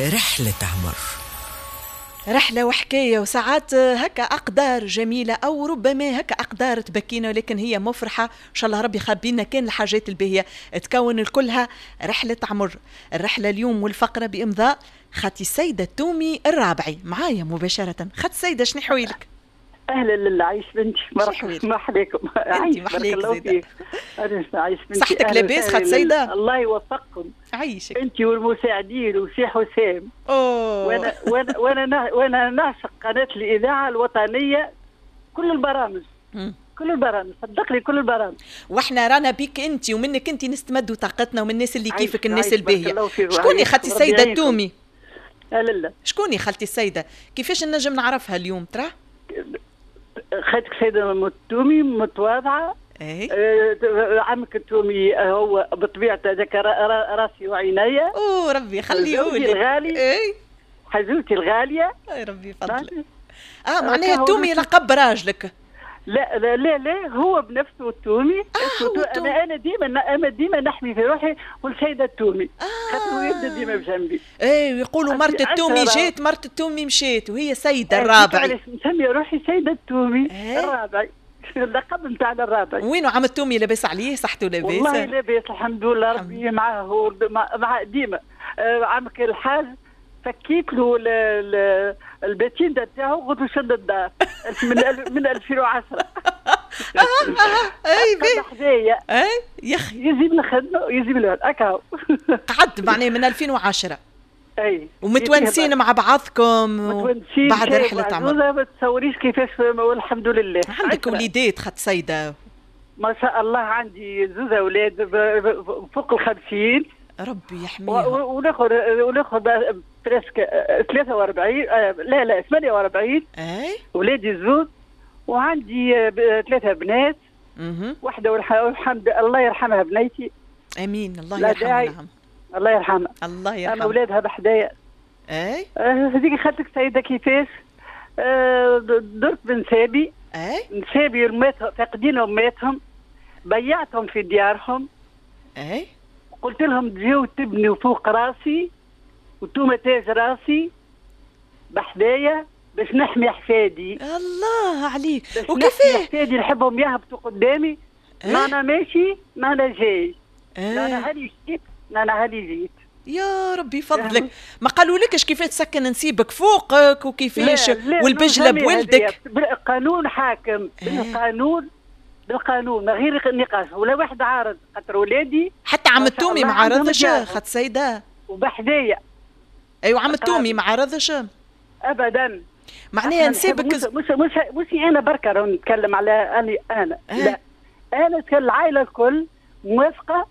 رحلة عمر، رحلة وحكاية، وساعات هكا أقدار جميلة أو ربما هكا أقدار تبكينا، ولكن هي مفرحة. إن شاء الله ربي خبينا كان الحاجات الباهية تكون الكلها رحلة عمر. الرحلة اليوم والفقرة بإمضاء خاتي السيدة التومي الرابعي معايا مباشرة. خاتي السيدة، شنو حويلك؟ اهلا لله، عايش بنتي، مرحبا بكم. عايش، بارك الله فيك. عايش بنتي، صحتك لاباس خات سيدة؟ الله يوفقكم. عايشك انت والمساعدين وسي حسام. اوه وانا نعشق قناة الإذاعة الوطنية، كل البرامج، كل البرامج، صدقني كل البرامج. واحنا رانا بيك انت ومنك انت نستمدوا طاقتنا ومن الناس اللي كيفك، الناس الباهية. شكوني خالتي السيدة التومي؟ لا شكوني خالتي السيدة؟ كيفاش نجم نعرفها اليوم ترى؟ خالتك سيدة التومي متواضعة. ايه عمك التومي هو بطبيعته هذاك راسي وعينيا. اوه ربي يخليه لي الغالي. ايه حزوتي الغالية. اي ربي يفضلك. معناها التومي لقب راجلك؟ لا لا لا لا، هو بنفسه التومي. هو انا ديما نحمي في روحي والسيدة التومي. خاطر هو يبدا ديما بجنبي. ايه، ويقولوا مرت التومي جات، مرت التومي مشات، وهي سيده الرابعي. نسمي روحي سيده التومي الرابعي، اللقب نتاعنا الرابعي. وينو عم التومي؟ لاباس عليه؟ صحته لاباس؟ والله لاباس الحمد لله، ربي معاه مع ديما. عمك الحاج فكيت له الباتيندا تاعو، قلت له شد الدار من 2010. اي بي حدايا. اي يا اخي يزيد الخدمة ويزيد الولد هكا. قعدت معناها من 2010. اي، ومتونسين مع بعضكم. متونسين بعد رحله عمر. ما تصوريش كيفاش، والحمد لله. عندك وليدات خط سيده؟ ما شاء الله، عندي زوز اولاد فوق 50. ربي يحميهم. وناخذ presque 43، لا لا 48. اي ولادي زوز، وعندي 3 بنات. واحدة والحمد الله يرحمها بنيتي. امين، الله يرحمها. نعم. الله يرحمها. الله يرحمها. انا اولادها بحدايا. اي هذيك خالتك سيده كيفاش درت بنسابي. اي نسابي فاقدين اماتهم، بيعتهم في ديارهم. اي قلت لهم تجيو تبنوا فوق راسي وانتوما تاج راسي بحدايا باش نحمي حفادي. الله عليك. وكيفاه حفادي؟ نحبهم يهبطوا قدامي. ما انا ماشي ما انا جاي. ما انا هاني جيت، ما انا هاني جيت. يا ربي فضلك. ما قالوا لكش كيفاش تسكن نسيبك فوقك وكيفاش والبجله بولدك؟ بالقانون حاكم. بالقانون، بالقانون، ما غير نقاش ولا واحد عارض، خاطر ولادي حتى عم التومي ما عارضش خات سيده وبحدايا. ايوه عم التومي ما عارضش ابدا. معناها نسيبك مش انا بركة راه نتكلم على انا. لا انا نتكلم العائلة الكل موافقة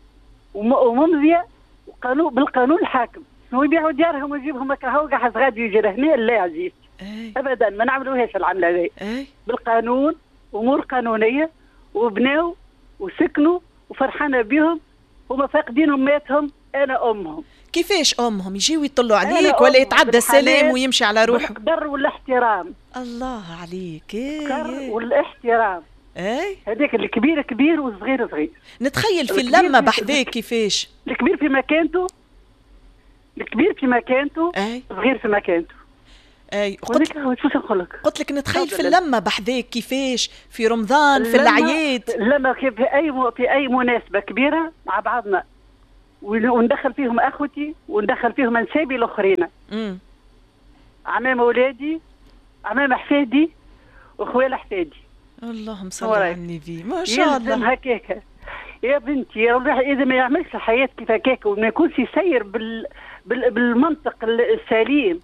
وممضيه وقانون بالقانون الحاكم. شنو يبيعوا ديارهم ويجيبهم هكا هو قاعد غادي يجي لهنا؟ لا عزيز. ابدا ما نعملوهاش العملة هذه. بالقانون، امور قانونية، وبناو وسكنوا وفرحانه بهم. هما فاقدين اماتهم، انا امهم. كيفاش امهم؟ يجيو يطلوا عليك ولا يتعدى السلام ويمشي على روحه؟ بالقدر والاحترام. الله عليك. القدر والاحترام. اي هذاك الكبير كبير والصغير صغير. نتخيل في اللمة بحذاك كيفاش؟ الكبير في مكانته، الكبير في مكانته، الصغير في مكانته. اي قلت لك، قلت لك نتخيل في اللمة بحذاك كيفاش في رمضان، في العياد. اللمة كيف في اي مناسبة كبيرة مع بعضنا، وندخل فيهم اخوتي وندخل فيهم انسابي الاخرين. عمام اولادي، عمام حفادي، وخوال حفادي. اللهم صل على النبي. ما شاء الله. هكاك يا بنتي، اذا ما يعملش الحياة كيف هكاك وما يكونش يسير بالمنطق السليم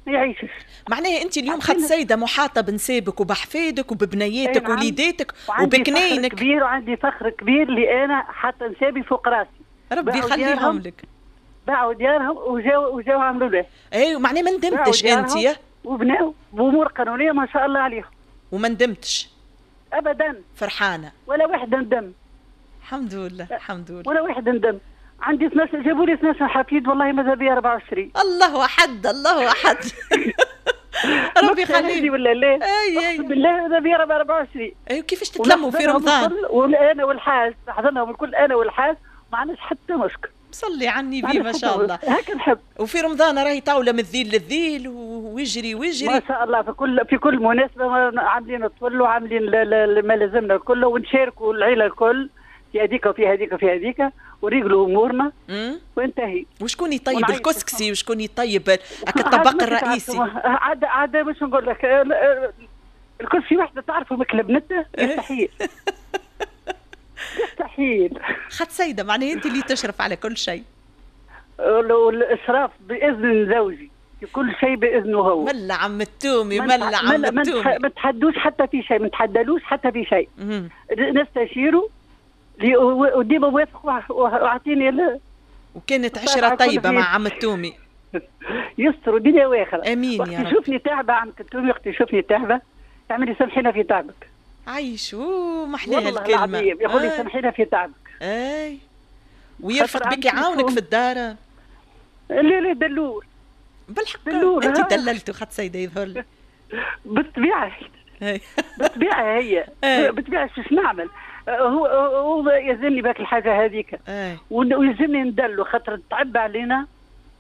ما يعيشش. معناها انت اليوم خد سيده محاطة بنسابك وبحفادك وببنياتك ووليداتك وبكناينك. كبير، وعندي فخر كبير اللي انا حتى نسابي فوق راسي. ربي يخليهم لك. باعوا ديارهم وجاو عملوا له. ايوه معناها ما ندمتش انت؟ وبناو بامور قانونية ما شاء الله عليهم. وما ندمتش؟ ابدا. فرحانة؟ ولا واحد ندم. الحمد لله، الحمد لله. ولا واحد ندم. عندي 12، جابوا لي 12 حفيد، والله ماذا بيا 24. الله احد، الله احد. ربي يخليك. ولا لا؟ اي اي بالله ماذا بيا 24. اي كيفاش تتلموا في رمضان؟ وانا والحاج، حضرناهم الكل انا والحاج، ما عندناش حتى مشكل. صلي على النبي ما شاء الله. هكا نحب. وفي رمضان راهي طاولة من الذيل للذيل ويجري ويجري ما شاء الله. في كل مناسبة عاملين الطفل وعاملين ما لازمنا الكل، ونشاركوا العيلة الكل في هذيك وفي هذيك وفي هذيك، وريقلوا امورنا وانتهي. وشكون يطيب الكسكسي وشكون يطيب الطبق الرئيسي؟ عاد باش نقول لك الكسكسي وحده تعرفوا ماكله بنته مستحيل. مستحيل. خد سيده معناها انت اللي تشرف على كل شيء. والاشراف باذن زوجي في كل شيء باذنه هو. ملا عم التومي، ملا عم التومي. ما تحدوش حتى في شيء، ما تحدلوش حتى في شيء. نستشيره وديما وافق واعطيني. وكانت عشرة طيبة مع عم التومي. يستر دنيا واخره. امين يا رب. وقت يشوفني تعبه عم التومي، وقت يشوفني تعبه يعمل لي سامحينا في تعبك. عايش محلاها الكلمة. يقول لي سامحينا في تعبك. اي ويرفق بك يعاونك في الدار. لا لا دلول. بالحق دلول. انت دللته خد سيده يظهر لي. بالطبيعة. بالطبيعة هي بالطبيعة شو نعمل؟ هو يلزمني باك الحاجة هذيك ويلزمني ندلو، خاطر تعب علينا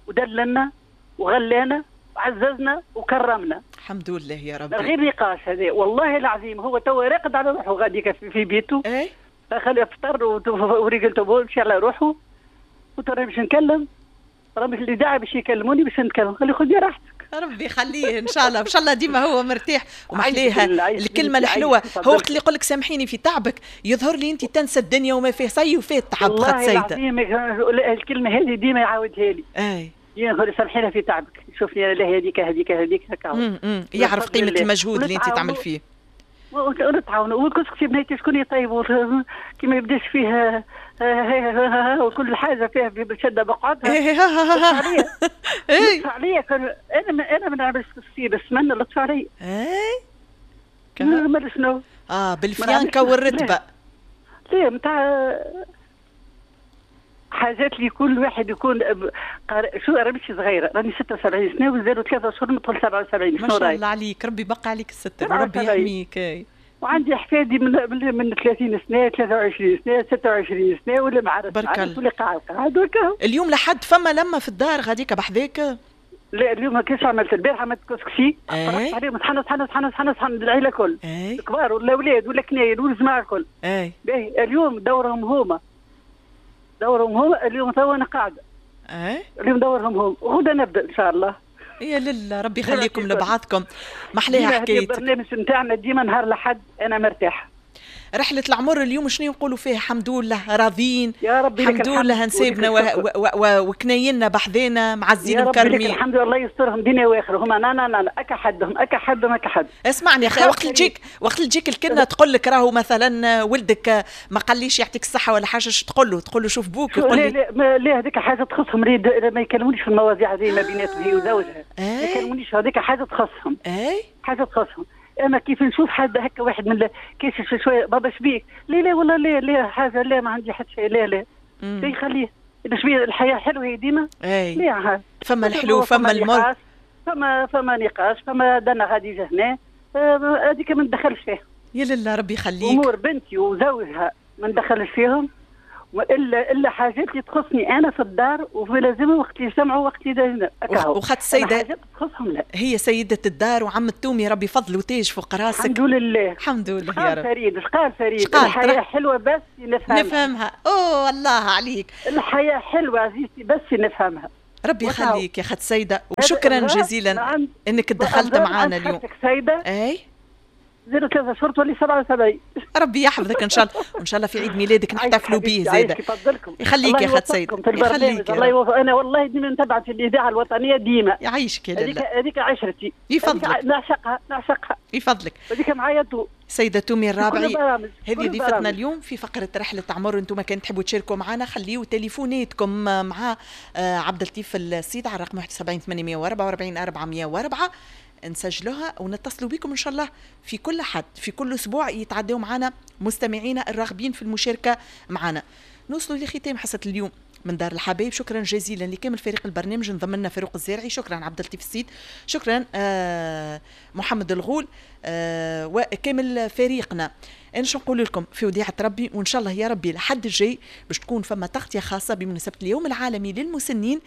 ودللنا وغلانا وعززنا وكرمنا. الحمد لله يا ربي. غير نقاش هذا والله العظيم. هو توا راقد على روحه غاديك في بيته. اي خليه يفطر وريقلته مشي على روحه، وترى باش نكلم راه مش اللي داعي باش يكلموني باش نتكلم، خليه خذ راحتك. ربي يخليه ان شاء الله، ان شاء الله ديما هو مرتاح. ومحليها الكلمة الحلوة، هو وقت اللي يقول لك سامحيني في تعبك يظهر لي انت تنسى الدنيا وما فيه صي وفيه التعب. والله العظيم الكلمة هذه ديما يعاودها لي. اي يقول سامحينا في تعبك، شوفني انا لا هذيك هذيك هذيك هكا. يعرف قيمة المجهود اللي انت تعمل فيه. ونتعاونوا. والكسكسي بنيتي شكون يطيبوا كي ما يبداش فيه وكل حاجة فيها بشده بقعدها. لطف عليا. انا ما نعملش كسكسي بالسمن، لطف عليا. اي ما شنو؟ بالفيانكا والرتبه. لا نتاع حاجات اللي كل واحد يكون شو. راني مش صغيرة، راني 76 سنة وزادوا 3 شهور ندخل 77. ما شاء الله عليك، ربي يبقى عليك الستر وربي يحميك. وعندي احفادي من 30 سنة، 23 سنة، 26 سنة، ولا معرس ولا قاعد وكا. اليوم لحد فما لما في الدار غاديك بحذاك؟ لا اليوم ما كاش. عملت البارحة عملت كسكسي عليهم صحن صحن صحن صحن صحن العيلة الكل، الكبار ولا الاولاد ولا كناين والجماعة الكل. باهي اليوم دورهم هما، دورهم هما اليوم. توا انا قاعدة. اليوم دورهم هما، وغدا نبدا ان شاء الله. يا لله ربي يخليكم لبعضكم. محلاها حكايتك. البرنامج نتاعنا ديما نهار لحد انا مرتاحة. رحلة العمر اليوم شنو نقولوا فيها؟ الحمد لله راضيين يا ربي، الحمد لله نسيبنا وكناينا بحذانا معزين ومكرمين. الحمد لله الله يسترهم دنيا واخره. هما نا نا نا اكا حدهم اكا حدهم اكا حد. اسمعني يا اخي، وقت اللي تجيك الكنه تقول لك راهو مثلا ولدك ما قاليش يعطيك الصحة ولا حاجة، شو تقول له؟ تقول له شوف بوك. يقول لي لا لا هذيك حاجة تخصهم، ما يكلمونيش في المواضيع هذه ما بيناتهم هي وزوجها. ما يكلمونيش، هذيك حاجة تخصهم. حاجة تخصهم. اما كيف نشوف حد هكا واحد من كيف شوية بابا شبيك؟ لا لا والله لا لا حاجة، لا ما عندي حتى شيء، لا لا يخليه شبيه. الحياة حلوة هي ديما. اي فما الحلو فما المر، فما نقاش، فما دنا غادي هنا، هذيك ما ندخلش فيها. يا لله ربي يخليك. امور بنتي وزوجها ما ندخلش فيهم، والا الا حاجات اللي تخصني انا في الدار وفي لازم وقت اللي يسمعوا وقت اللي وخات السيدة تخصهم. لا هي سيده الدار وعم التومي ربي فضل وتاج فوق راسك. الحمد لله الحمد لله يا رب. فريد قال فريد الحياة حلوة بس نفهمها. نفهمها. اوه الله عليك. الحياة حلوة عزيزتي بس نفهمها. ربي يخليك يا خات سيده، وشكرا جزيلا انك تدخلت معنا اليوم. سيده اي 03 شهور تولي 77. ربي يحفظك ان شاء الله، وان شاء الله في عيد ميلادك نحتفلوا به زاده. يفضلكم. يخليك يا خات سيد. يخليك. الله يوفق. انا والله ديما نتبع في الاذاعة الوطنية ديما. يعيشك يا لاله. هذيك عشرتي. يفضلك. نعشقها نعشقها. يفضلك. هذيك معايا تو. سيدة تومي الرابعي هذه ضيفتنا اليوم في فقرة رحلة عمر. انتم كان تحبوا تشاركوا معنا خليوا تليفوناتكم مع عبد اللطيف السيد على الرقم 71 844 404، نسجلوها ونتصلوا بكم ان شاء الله في كل حد في كل اسبوع يتعدوا معنا مستمعينا الراغبين في المشاركة معنا. نوصلوا لختام حصة اليوم من دار الحبايب. شكرا جزيلا لكامل فريق البرنامج، انضم لنا فاروق الزارعي، شكرا عبد اللطيف السيد، شكرا محمد الغول وكامل فريقنا. انا شو نقول لكم في وديعة ربي، وان شاء الله يا ربي لحد الجاي باش تكون فما تغطية خاصة بمناسبة اليوم العالمي للمسنين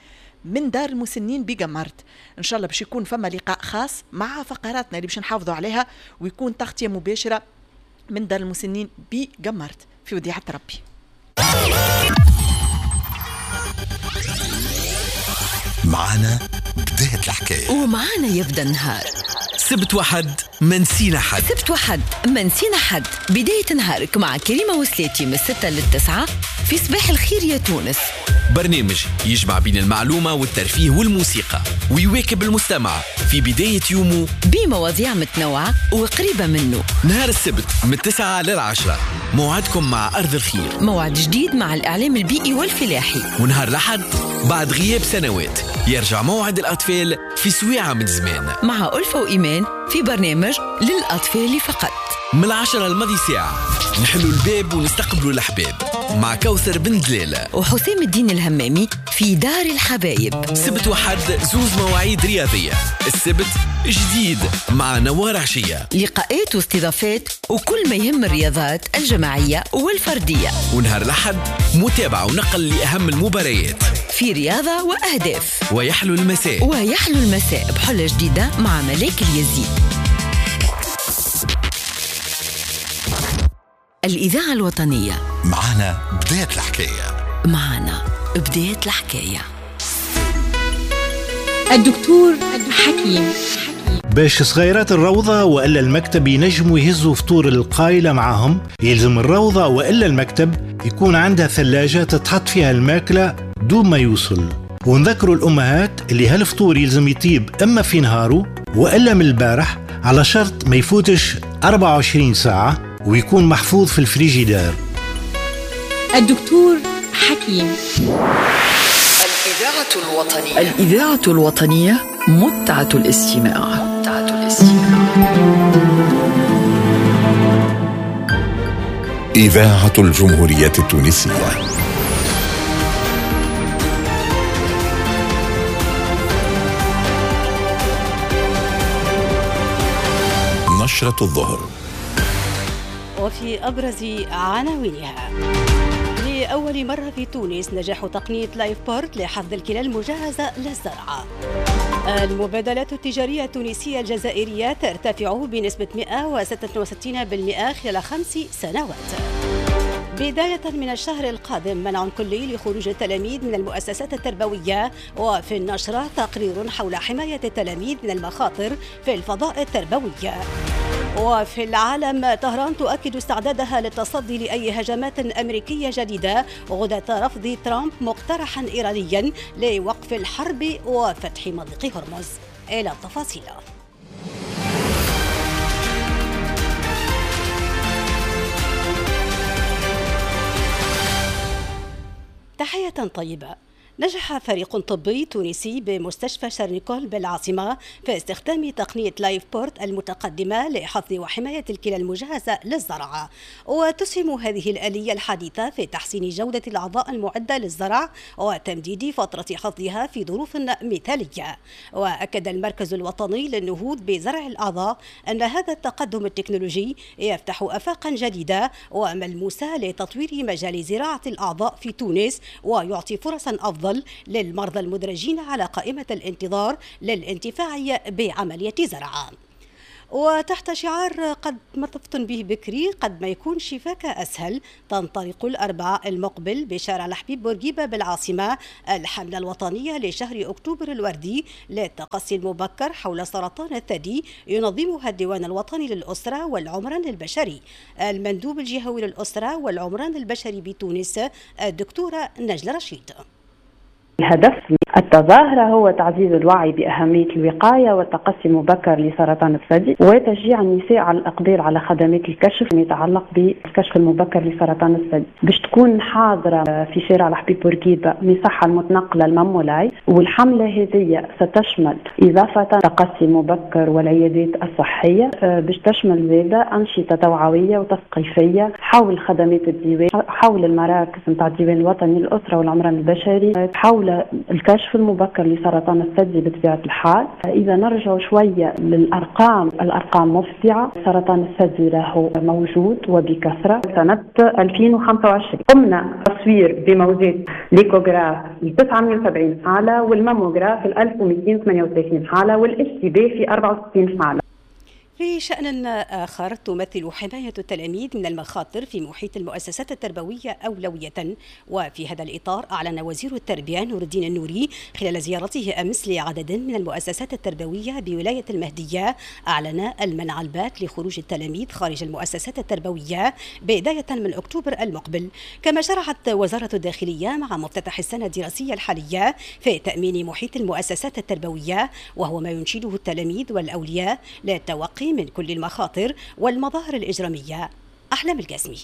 من دار المسنين بقمرت. ان شاء الله باش يكون فما لقاء خاص مع فقراتنا اللي باش نحافظوا عليها، ويكون تغطية مباشرة من دار المسنين بقمرت. في وديعة ربي. معنا بداية الحكاية ومعنا يبدأ النهار. سبت وحد ما نسينا حد، سبت وحد ما نسينا حد. بداية نهارك مع كريمة وسلاتي من 6 ل9 في صباح الخير يا تونس. برنامج يجمع بين المعلومة والترفيه والموسيقى ويواكب المستمع في بداية يومه بمواضيع متنوعة وقريبة منه. نهار السبت من 9 ل10 موعدكم مع أرض الخير، موعد جديد مع الإعلام البيئي والفلاحي. ونهار الأحد بعد غياب سنوات يرجع موعد الأطفال في سويعة من زمان مع ألفة وإيمان في برنامج للأطفال فقط. من 10 الماضي ساعة نحلوا الباب ونستقبلوا الأحباب مع كوثر بن دلالة وحسام الدين الهمامي في دار الحبايب. سبت وحد زوز مواعيد رياضية، السبت جديد مع نوار عشية، لقاءات واستضافات وكل ما يهم الرياضات الجماعية والفردية. ونهار الأحد متابعة ونقل لأهم المباريات في رياضة وأهداف. ويحلو المساء، ويحلو المساء بحلة جديدة مع ملاك اليزيد. الإذاعة الوطنية معنا بداية الحكاية، معنا بداية الحكاية. الدكتور حكيم. باش صغيرات الروضة وإلا المكتب ينجموا يهزوا فطور القايلة معاهم، يلزم الروضة وإلا المكتب يكون عندها ثلاجة تتحط فيها الماكلة دون ما يوصل. ونذكروا الأمهات اللي هالفطور يلزم يطيب إما في نهاره وإلا من البارح، على شرط ما يفوتش 24 ساعة ويكون محفوظ في الفريجيدار. الدكتور حكيم. الإذاعة الوطنية، الإذاعة الوطنية متعة الاستماع، متعة الاستماع. إذاعة الجمهورية التونسية. نشرة الظهر. وفي أبرز عناوينها: لأول مرة في تونس نجاح تقنية LifePort لحفظ الكلى المجهزة للزرع. المبادلات التجارية التونسية الجزائرية ترتفع بنسبة 166% خلال 5 سنوات. بداية من الشهر القادم منع كلي لخروج التلاميذ من المؤسسات التربوية. وفي النشرة تقرير حول حماية التلاميذ من المخاطر في الفضاء التربوي. وفي العالم طهران تؤكد استعدادها للتصدي لأي هجمات أمريكية جديدة غداة رفض ترامب مقترحا إيرانيا لوقف الحرب وفتح مضيق هرمز. إلى التفاصيل. تحية طيبة. نجح فريق طبي تونسي بمستشفى شارنيكول بالعاصمة في استخدام تقنية LifePort المتقدمة لحفظ وحماية الكلى المجهزة للزرع. وتسهم هذه الآلية الحديثة في تحسين جودة الأعضاء المعدة للزرع وتمديد فترة حفظها في ظروف مثالية. وأكد المركز الوطني للنهوض بزرع الأعضاء أن هذا التقدم التكنولوجي يفتح آفاقا جديدة وملموسة لتطوير مجال زراعة الأعضاء في تونس، ويعطي فرصا أفضل للمرضى المدرجين على قائمة الانتظار للانتفاع بعملية زرع. وتحت شعار قد ما تفطن به بكري قد ما يكون شفاك أسهل، تنطلق الأربعاء المقبل بشارع الحبيب بورقيبة بالعاصمة الحملة الوطنية لشهر أكتوبر الوردي للتقصي المبكر حول سرطان الثدي، ينظمها الديوان الوطني للأسرة والعمران البشري. المندوب الجهوي للأسرة والعمران البشري بتونس الدكتورة نجلة رشيد. الهدف التظاهرة هو تعزيز الوعي بأهمية الوقاية والتقصي المبكر لسرطان الثدي، وتشجيع النساء على الإقبال على خدمات الكشف يتعلق بالكشف المبكر لسرطان الثدي. باش تكون حاضرة في شارع الحبيب بورقيبة مساحة المتنقلة المامولاي، والحملة هذه ستشمل إضافة تقصي مبكر والعيادات الصحية، باش تشمل زادة أنشطة توعوية وتثقيفية حول خدمات الديوان، حول المراكز نتاع الديوان الوطني للأسرة والعمران البشري، حول الكشف المبكر لسرطان الثدي بطبيعة الحال. إذا نرجع شوية للأرقام، الأرقام مفزعة. سرطان الثدي له موجود وبكثرة. سنة 2025 قمنا تصوير بموجات l'échographe ل 970 حالة، وال mammographie 1238 حالة، والاشتباه في 64 حالة. في شأن آخر، تمثل حماية التلاميذ من المخاطر في محيط المؤسسات التربوية أولوية، وفي هذا الإطار أعلن وزير التربية نور الدين النوري خلال زيارته أمس لعدد من المؤسسات التربوية بولاية المهدية، أعلن المنع البات لخروج التلاميذ خارج المؤسسات التربوية بداية من أكتوبر المقبل. كما شرعت وزارة الداخلية مع مفتتح السنة الدراسية الحالية في تأمين محيط المؤسسات التربوية، وهو ما ينشده التلاميذ والأولياء للتوقي من كل المخاطر والمظاهر الإجرامية. أحلام القاسمي.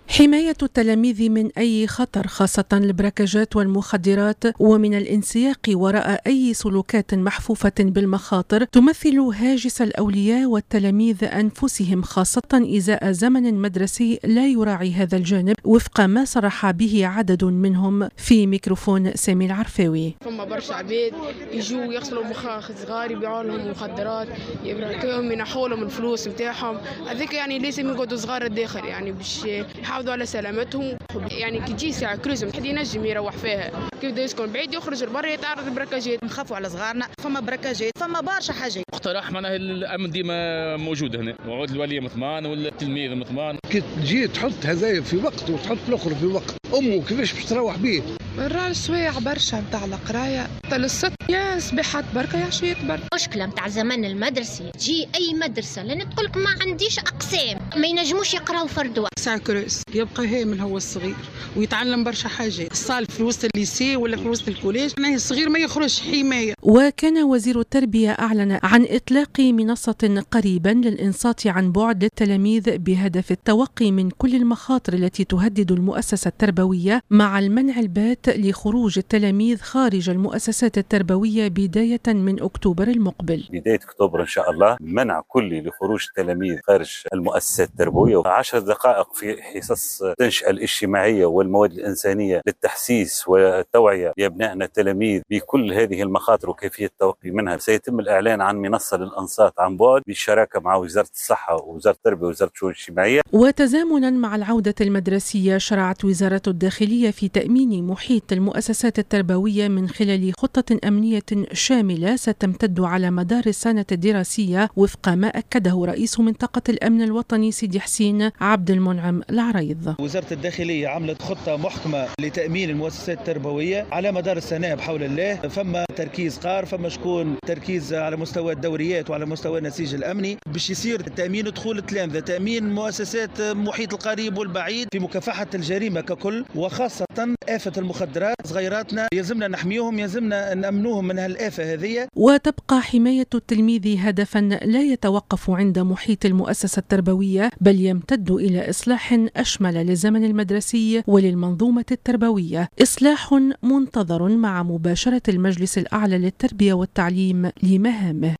حماية التلاميذ من أي خطر، خاصة البراكاجات والمخدرات، ومن الانسياق وراء أي سلوكات محفوفة بالمخاطر، تمثل هاجس الأولياء والتلاميذ أنفسهم، خاصة إزاء زمن مدرسي لا يراعي هذا الجانب، وفق ما صرح به عدد منهم في ميكروفون سامي العرفاوي. فما برشا عباد يجوا يغسلوا مخاخ صغار، يبيعوا لهم مخدرات، يبركوهم، ينحوا لهم الفلوس نتاعهم، هذيك يعني لازم يقعدوا صغار الداخل يعني باش يحافظوا على سلامتهم. يعني كي تجي ساعة creuse حد ينجم يروح فيها، كي يبدا يسكن بعيد يخرج لبرا يتعرض ل braquage ات. نخافوا على صغارنا، فما braquage ات، فما برشا حاجات. اقتراح معناها الامن ديما موجود هنا، وعود الولي مطمان والتلميذ مطمان. كي تجي تحط هذايا في وقت وتحط الاخر في وقت، امه كيفاش باش تروح بيه؟ راه السوايع برشا نتاع القراية، حتى للست يا صباحات بركة يا عشيات بركة. مشكلة نتاع زمن المدرسي، تجي اي مدرسه لان تقول لك ما عنديش اقسام، ما ينجموش يقراو فرد وقت. ساعة creuse يبقى هامل هو الصغير ويتعلم برشا حاجات، ال salle في وسط ال lycée ولا في وسط ال collège، معناها الصغير ما يخرجش حماية. وكان وزير التربية اعلن عن اطلاق منصة قريبا للانصات عن بعد للتلاميذ بهدف التوقي من كل المخاطر التي تهدد المؤسسة التربوية، مع المنع البات لخروج التلاميذ خارج المؤسسات التربوية بداية من أكتوبر المقبل. بداية أكتوبر إن شاء الله منع كلي لخروج التلاميذ خارج المؤسسات التربوية، 10 دقائق في حصص التنشئة الاجتماعية والمواد الإنسانية للتحسيس والتوعية لأبنائنا التلاميذ بكل هذه المخاطر وكيفية التوقي منها. سيتم الإعلان عن منصة للأنصات عن بعد بالشراكة مع وزارة الصحة ووزارة التربية ووزارة الشؤون الاجتماعية. وتزامنا مع العودة المدرسية، شرعت وزارة الداخلية في تأمين محيط المؤسسات التربوية من خلال خطة أمنية شاملة ستمتد على مدار السنة الدراسية، وفق ما أكده رئيس منطقة الأمن الوطني سيدي حسين عبد المنعم العريض. وزارة الداخلية عملت خطة محكمة لتأمين المؤسسات التربوية على مدار السنة بحول الله. فما تركيز قار، فما شكون تركيز على مستوى الدوريات وعلى مستوى النسيج الأمني باش يصير تأمين دخول التلامذة، تأمين مؤسسات المحيط القريب والبعيد في مكافحة الجريمة ككل، وخاصة آفة المخدرات. صغيراتنا يلزمنا نحميهم، يلزمنا نأمنوهم من هالآفة هذه. وتبقى حماية التلميذ هدفا لا يتوقف عند محيط المؤسسة التربوية، بل يمتد إلى إصلاح أشمل للزمن المدرسي وللمنظومة التربوية، إصلاح منتظر مع مباشرة المجلس الأعلى للتربية والتعليم لمهامه.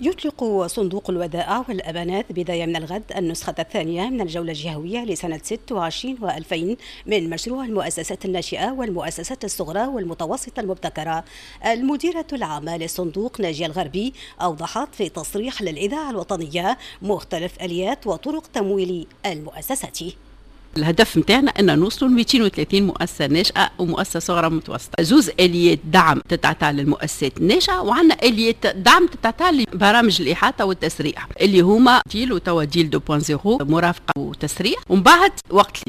يطلق صندوق الودائع والأمانات بداية من الغد النسخة الثانية من الجولة الجهوية لسنة 26 و2000 من مشروع المؤسسات الناشئة والمؤسسات الصغرى والمتوسطة المبتكرة. المديرة العامة للصندوق ناجية الغربي أوضحت في تصريح للإذاعة الوطنية مختلف آليات وطرق تمويل المؤسسات. الهدف نتاعنا ان نوصلوا ل 230 مؤسسة ناشئة ومؤسسة صغرى متوسطه، زوز اليات دعم تتعطى للمؤسسات الناشئة، وعندنا اليات دعم تتعطى لبرامج الاحاطة والتسريع اللي هما DEAL وتوا DEAL 2.0 مرافقة وتسريع، ومن بعد وقت